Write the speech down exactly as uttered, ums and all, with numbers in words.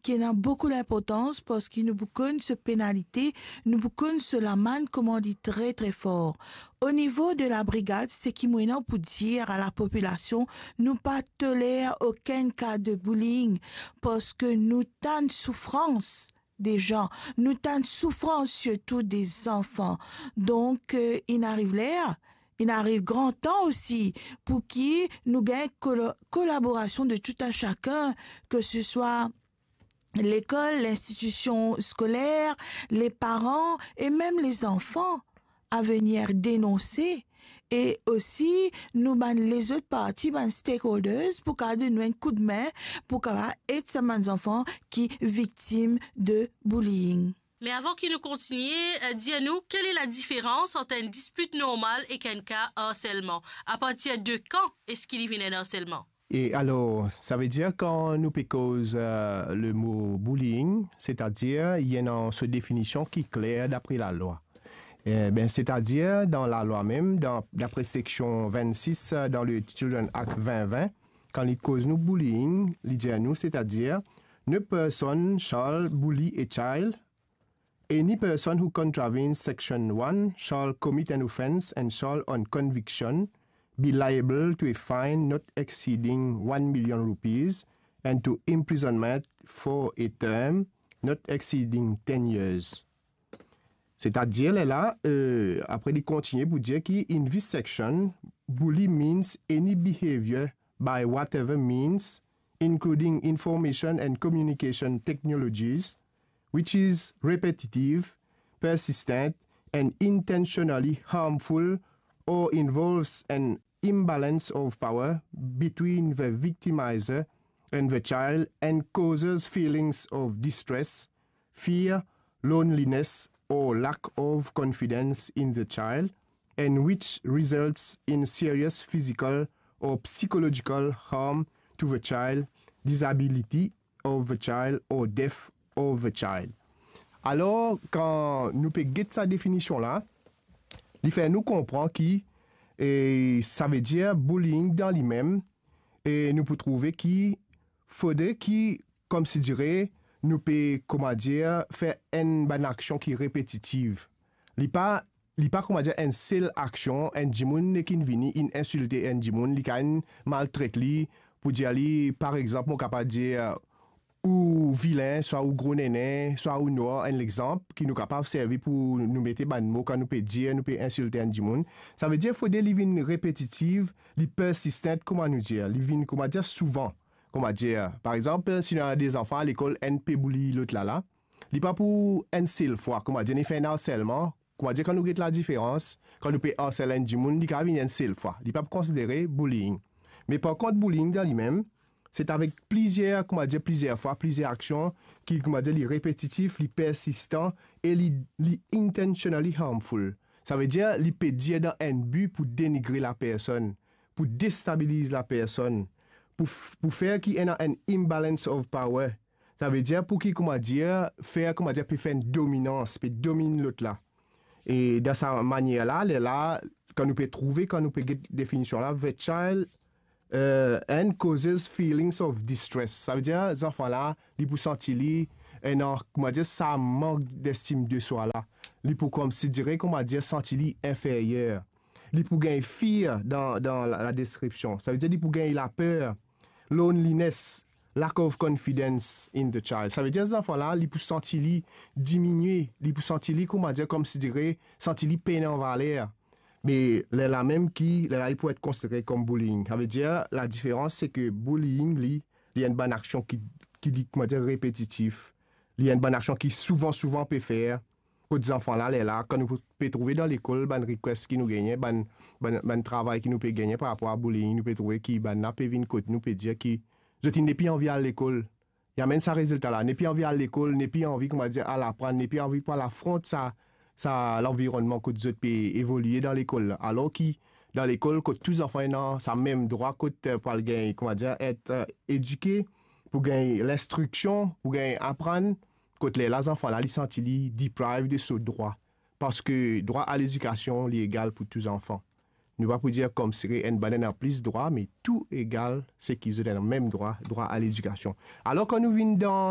ki ena boukou linportans, parski nou pou konn so penalite, nou pou konn so lamann kouma li tre, tre for. O nivo de labrigad, seki mo ena pou dir a lapopilasion, nou pa toler okenn ka de bullying, parski nou tann soufrans de zan, nou tann soufrans sirtou de zanfan. Donk, eh, inn ariv ler, inn ariv gran tan osi pou ki nou gagn kolo-, kolaborasion de tout a sakenn, ke se swa lekol, linstitision skoler, leparan e mem lezanfan a venir denonse, e osi nou bann lezot parti, bann stakeholders, pou kapav donn nou enn koudme, pou kapav ed sa bann zanfan ki viktim de bullying. Me avan ki nou kontigne, eh, dir nou, kel e ladiferans ant enn dispit normal ek enn ka arselman? Apartir de kan eski li vinn enn arselman? E alor, savedir kan nou pe koz, eh, lemo bullying, setadir, li ena so definision ki kler dapre lalwa. Eh ben, setadir, dan lalwa mem, dan, dapre seksion vennsis, eh, dan le Children Act vin vin, kan li koz nou bullying, li dir nou, setadir, "No person shall bully a child. Any person who contravenes section one shall commit an offence and shall, on conviction, be liable to a fine not exceeding one million rupees and to imprisonment for a term not exceeding ten years." Setadir, lerla, eh, apre li kontigne pou dir ki, "In this section, bully means any behaviour by whatever means, including information and communication technologies, which is repetitive, persistent, and intentionally harmful, or involves an imbalance of power between the victimizer and the child and causes feelings of distress, fear, loneliness, or lack of confidence in the child, and which results in serious physical or psychological harm to the child, disability of the child, or death of the child." Alor, kan nou pe get sa definision la, li fer nou konpran ki, eh, savedir bullying dan limem, e nou pou trouve ki fode ki, koumsidire, nou pe, koumadir, fer enn bann aksion ki repetitiv. Li pa, li pa, koumadir, enn sel aksion, enn dimoun nek inn vini, inn insilte enn dimoun, li kapav inn maltret li, pou dir li, par exanp, mo kapav dir, ou vilin, swa ou gro nene, swa ou nwar, enn lexanp ki nou kapav servi pou nou mete bann mo kan nou pe dir, nou pe insilte enn dimoun. Savedir fode li vinn repetitiv, li persistent, kouma nou dir, li vinn, koumadir, souvan. Koumadir, par exanp, si nou ena de zanfan lekol, enn pe bully lot la la, li pa pou enn sel fwa, koumadir, li fer enn arselman, koumadir, kan nou get ladiferans, kan nou pe arsel enn dimoun, li kapav vinn enn sel fwa. Li pa pou konsidere bullying. Me par kont, bullying dan limem, se avek plizier, koumadir, plizier fwa, plizier aksion ki, koumadir, li repetitif, li persistan e li, li intentionally harmful. Savedir, li pe dir dan enn bi pou denigre lapersonn, pou destabiliz lapersonn, pou f-, pou fer ki ena enn imbalance of power. Savedir pou ki, koumadir, fer, koumadir, pe fer enn dominans, pe dominn lot la. E dan sa manier la, lerla, kan nou pe trouve, kan nou pe get definision la, the child, eh, and causes feelings of distress. Savedir, zanfan la, li pou santi li, ena, koumadir, sa mank d'estime de soi la. Li pou konsidere, koumadir, santi li inferyer. Li pou gagn fear dan, dan la, ladeskripsion. Savedir li pou gagn laper, loneliness, lack of confidence in the child. Savedir zanfan la, li pou santi li diminie, li pou santi li, koumadir, konsidere, santi li pena valer. Me lerla mem ki, lerla li pou et konsidere kom bullying. Savedir, ladiferans, se ke bullying, li, li enn bann aksion ki, ki li, koumadir, repetitif. Li enn bann aksion ki souvan, souvan pe fer. Kot zanfan la, lerla, kan nou pe trouve dan lekol, bann request ki nou gagne, bann, bann, bann travay ki nou pe gagne par rapor a bullying, nou pe trouve ki bann la pe vinn kot nou, pe dir ki zot inn nepli anvi al lekol. Li amenn sa rezilta la, nepli anvi al lekol, nepli anvi, koumadir, al aprann, nepli anvi pou al afront sa, sa lanvironnman kot zot pe evolie dan lekol la. Alor ki dan lekol, kot tou zanfan ena sa mem drwa, kot, eh, pou al gagn, koumadir, et, eh, edike, pou gagn linstriksion, pou gagn aprann, kot lerla zanfan la, li santi li deprive de so drwa. Parski drwa a ledikasion, li egal pou tou zanfan. Nou pa pou dir konsidere enn bann ena plis drwa, me tou egal, seki zot ena mem drwa, drwa a ledikasion. Alor, kan nou vinn dan